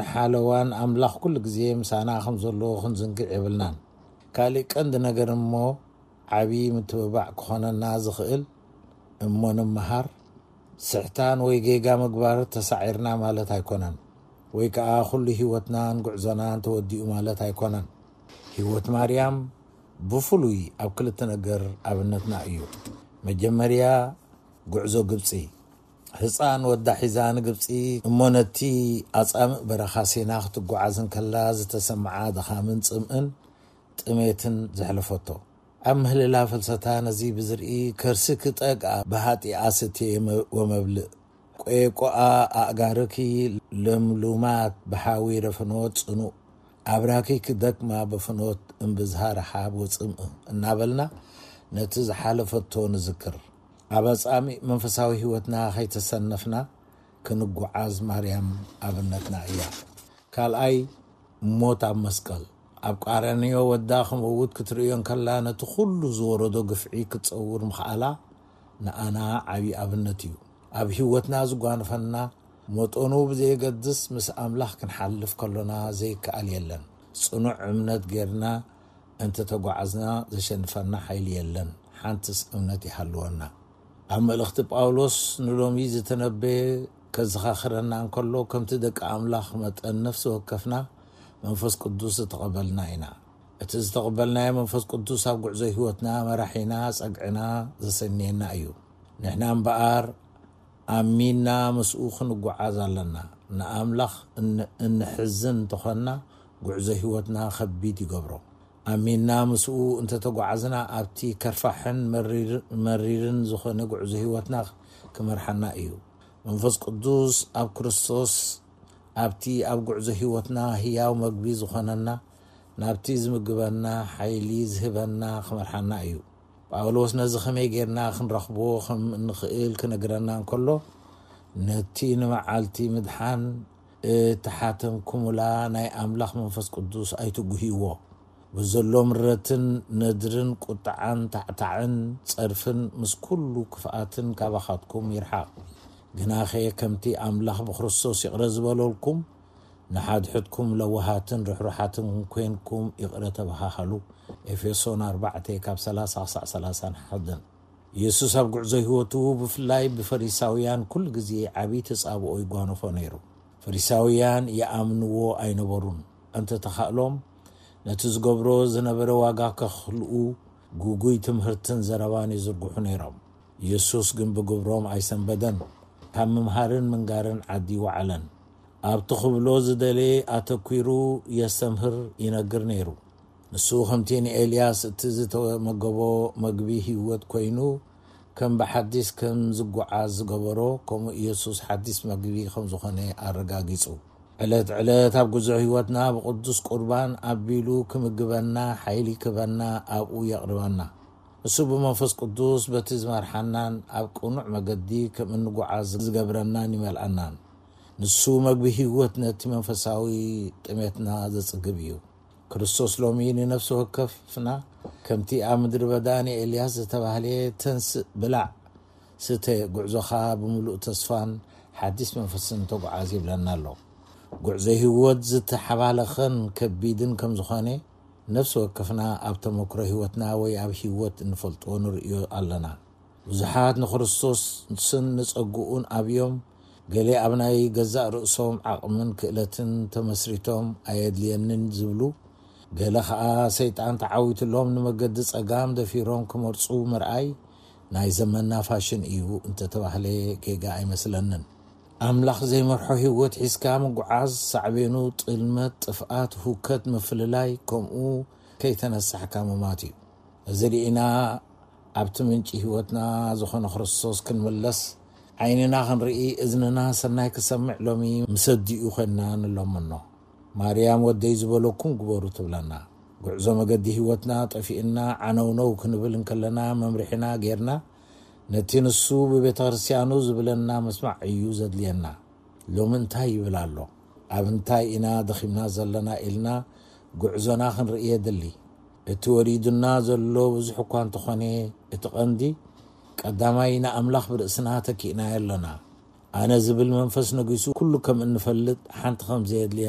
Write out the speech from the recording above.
ንሓለዋን ኣምላኽ ኩሉ ግዜ ምሳና ከም ዘሎ ክንዝንግዕ የብልናን። ካልእ ቀንዲ ነገር እሞ ዓቢ ምትብባዕ ክኾነና ዝኽእል እሞ ንምሃር፣ ስሕታን ወይ ጌጋ ምግባር ተሳዒርና ማለት ኣይኮነን፣ ወይ ከኣ ኩሉ ህይወትናን ጉዕዞናን ተወዲኡ ማለት ኣይኮነን። ህይወት ማርያም ብፍሉይ ኣብ ክልተ ነገር ኣብነትና እዩ። መጀመርያ፣ ጉዕዞ ግብጺ። ህጻን ወዳ ሒዛ ንግብጺ እሞ ነቲ ኣጻምእ በረኻ ሲና ክትጓዓዝ እንከላ ዝተሰምዓ ድኻምን ጽምእን ጥሜትን ዘሕለፈቶ። ኣብ ምህልላ ፍልሰታ ነዚ ብዝርኢ ከርሲ ክጠግኣ ብሃጢኣ ስትየ ወመብልእ። ቆየቆኣ ኣእጋርኪ ለምሉማት ብሓዊ ረፍኖት ጽኑእ። ኣብራኪ ክደክማ በፍኖት እምብዝሃ ረሓብ ወጽምእ እናበልና ነቲ ዝሓለፈቶ ንዝክር። ኣብ ኣጻሚእ መንፈሳዊ ህይወትና ከይተሰነፍና ክንጓዓዝ ማርያም ኣብነትና እያ። ካልኣይ፣ ሞት ኣብ መስቀል። ኣብ ቃራንዮ ወዳ ክመውት ክትርእዮ እንከላ ነቲ ኩሉ ዝወረዶ ግፍዒ ክትጸውር ምኽኣላ ንኣና ዓቢ ኣብነት እዩ። ኣብ ህይወትና ዝጓንፈና መጠኑ ብዘየገድስ ምስ ኣምላኽ ክንሓልፍ ከሎና ዘይከኣል የለን። ጽኑዕ እምነት ጌርና እንተተጓዓዝና ዘሸንፈና ሓይሊ የለን። ሓንትስ እምነት ይሃልወና። ኣብ መልእኽቲ ጳውሎስ ንሎሚ ዝተነበየ ከዘኻኽረና እንከሎ፣ ከምቲ ደቂ ኣምላኽ መጠን ነፍሲ ወከፍና መንፈስ ቅዱስ ዝተቐበልና ኢና። እቲ ዝተቐበልናዮ መንፈስ ቅዱስ ኣብ ጉዕዞ ህይወትና መራሒና፣ ጸግዕና ዘሰንየና እዩ። ንሕና እምበኣር ኣሚንና ምስኡ ክንጓዓዝ ኣለና። ንኣምላኽ እን-፣ እንሕዝን እንተኾንና፣ ጉዕዞ ህይወትና ከቢድ ይገብሮ። ኣሚንና ምስኡ እንተተጓዓዝና፣ ኣብቲ ከርፋሕን መሪር-፣ መሪርን ዝኾነ ጉዕዞ ህይወትና ክመርሓና እዩ። መንፈስ ቅዱስ ኣብ ክርስቶስ ኣብቲ ኣብ ጉዕዞ ህይወትና ህያው መግቢ ዝኾነና፣ ናብቲ ዝምግበና ሓይሊ ዝህበና ክመርሓና እዩ። ጳውሎስ ነዚ ከመይ ጌርና ክንረኽቦ ከም እንኽእል ክነግረና እንከሎ፣ ነቲ ንመዓልቲ ምድሓን እተሓተምኩምላ ናይ ኣምላኽ መንፈስ ቅዱስ ኣይትጉህይዎ። ብዘሎ ምረትን ነድርን ቁጥዓን ታዕታዕን ጸርፍን ምስ ኩሉ ክፍኣትን ካባኻትኩም ይርሓቕ። ግናኸ ከምቲ ኣምላኽ ብክርስቶስ ይቕረ ዝበለልኩም፣ ንሓድሕድኩም ለዋሃትን ርሕሩሓትን ኮይንኩም ይቕረ ተበሃሃሉ። ኤፌሶን ኣርባዕተ ካብ ሰላሳ ክሳዕ ሰላሳን ሓደን። የሱስ ኣብ ጉዕዞ ህይወቱ ብፍላይ ብፈሪሳውያን ኩሉ ግዜ ዓቢ ተጻብኦ ይጓነፎ ነይሩ። ፈሪሳውያን ይኣምንዎ ኣይነበሩን። እንተተኻእሎም ነቲ ዝገብሮ ዝነበረ ዋጋ ከኽልኡ ግጉይ ትምህርትን ዘረባን ይዝርግሑ ነይሮም። የሱስ ግን ብግብሮም ኣይሰንበደን። ካብ ምምሃርን ምንጋርን ዓዲ ይወዓለን። ኣብቲ ክብሎ ዝደለየ ኣተኲሩ የስተምህር ይነግር ነይሩ። ንሱ ከምቲ ንኤልያስ እቲ ዝተመገቦ መግቢ ህይወት ኮይኑ፣ ከም ብሓዲስ ከም ዝጓዓዝ ዝገበሮ፣ ከምኡ ኢየሱስ ሓዲስ መግቢ ከም ዝኾነ ኣረጋጊጹ። ዕለት ዕለት ኣብ ጉዞ ህይወትና ብቅዱስ ቁርባን ኣቢሉ ክምግበና ሓይሊ ክበና ኣብኡ የቕርበና። ንሱ ብመንፈስ ቅዱስ በቲ ዝመርሓናን ኣብ ቅኑዕ መገዲ ከም እንጓዓዝ ዝገብረናን ይመልኣናን። ንሱ መግቢ ህይወት ነቲ መንፈሳዊ ጥሜትና ዘጽግብ እዩ። ክርስቶስ ሎሚ ንነፍሲ ወከፍና ከምቲ ኣብ ምድሪ በዳ ንኤልያስ ዝተባህለ ተንስእ ብላዕ ስተ፣ ጉዕዞኻ ብምሉእ ተስፋን ሓዲስ መንፈስን ተጓዓዝ ይብለና ኣሎ። ጉዕዞ ህይወት ዝተሓባለኸን ከቢድን ከም ዝኾነ ነፍሲ ወከፍና ኣብ ተመክሮ ህይወትና ወይ ኣብ ህይወት እንፈልጦ ንርእዮ ኣለና። ብዙሓት ንክርስቶስን ንጸግኡን ኣብዮም፣ ገለ ኣብ ናይ ገዛእ ርእሶም ዓቕምን ክእለትን ተመስሪቶም ኣየድልየንን ዝብሉ፣ ገለ ኸኣ ሰይጣን ተዓዊትሎም ንመገዲ ጸጋም ደፊሮም ክመርጹ ምርኣይ ናይ ዘመንና ፋሽን እዩ እንተተባህለ ጌጋ ኣይመስለንን። ኣምላኽ ዘይመርሖ ህይወት ሒዝካ ምጉዓዝ ሳዕቤኑ ጥልመት፣ ጥፍኣት፣ ሁከት፣ ምፍልላይ፣ ከምኡ ከይተነሳሕካ ምማት እዩ። እዚ ርኢና ኣብቲ ምንጪ ህይወትና ዝኾነ ክርስቶስ ክንምለስ፣ ዓይንና ክንርኢ፣ እዝንና ሰናይ ክሰምዕ ሎሚ ምስ ኣዲኡ ኮይንና ንለምኖ። ማርያም ወደይ ዝበለኩም ግበሩ ትብለና። ጉዕዞ መገዲ ህይወትና ጠፊእና ዓነውነው ክንብል እንከለና መምርሒና ጌርና፣ ነቲ ንሱ ብቤተ ክርስቲያኑ ዝብለና ምስማዕ እዩ ዘድልየና። ሎሚ እንታይ ይብል ኣሎ? ኣብ እንታይ ኢና ደኺምና ዘለና ኢልና ጉዕዞና ክንርኢ የድሊ። እቲ ወሪዱና ዘሎ ብዙሕ እኳ እንተኾነ፣ እቲ ቀንዲ ቀዳማይ ንኣምላኽ ብርእስና ተኪእናዮ ኣለና። ኣነ ዝብል መንፈስ ነጊሱ፣ ኩሉ ከም እንፈልጥ፣ ሓንቲ ከም ዘየድልየና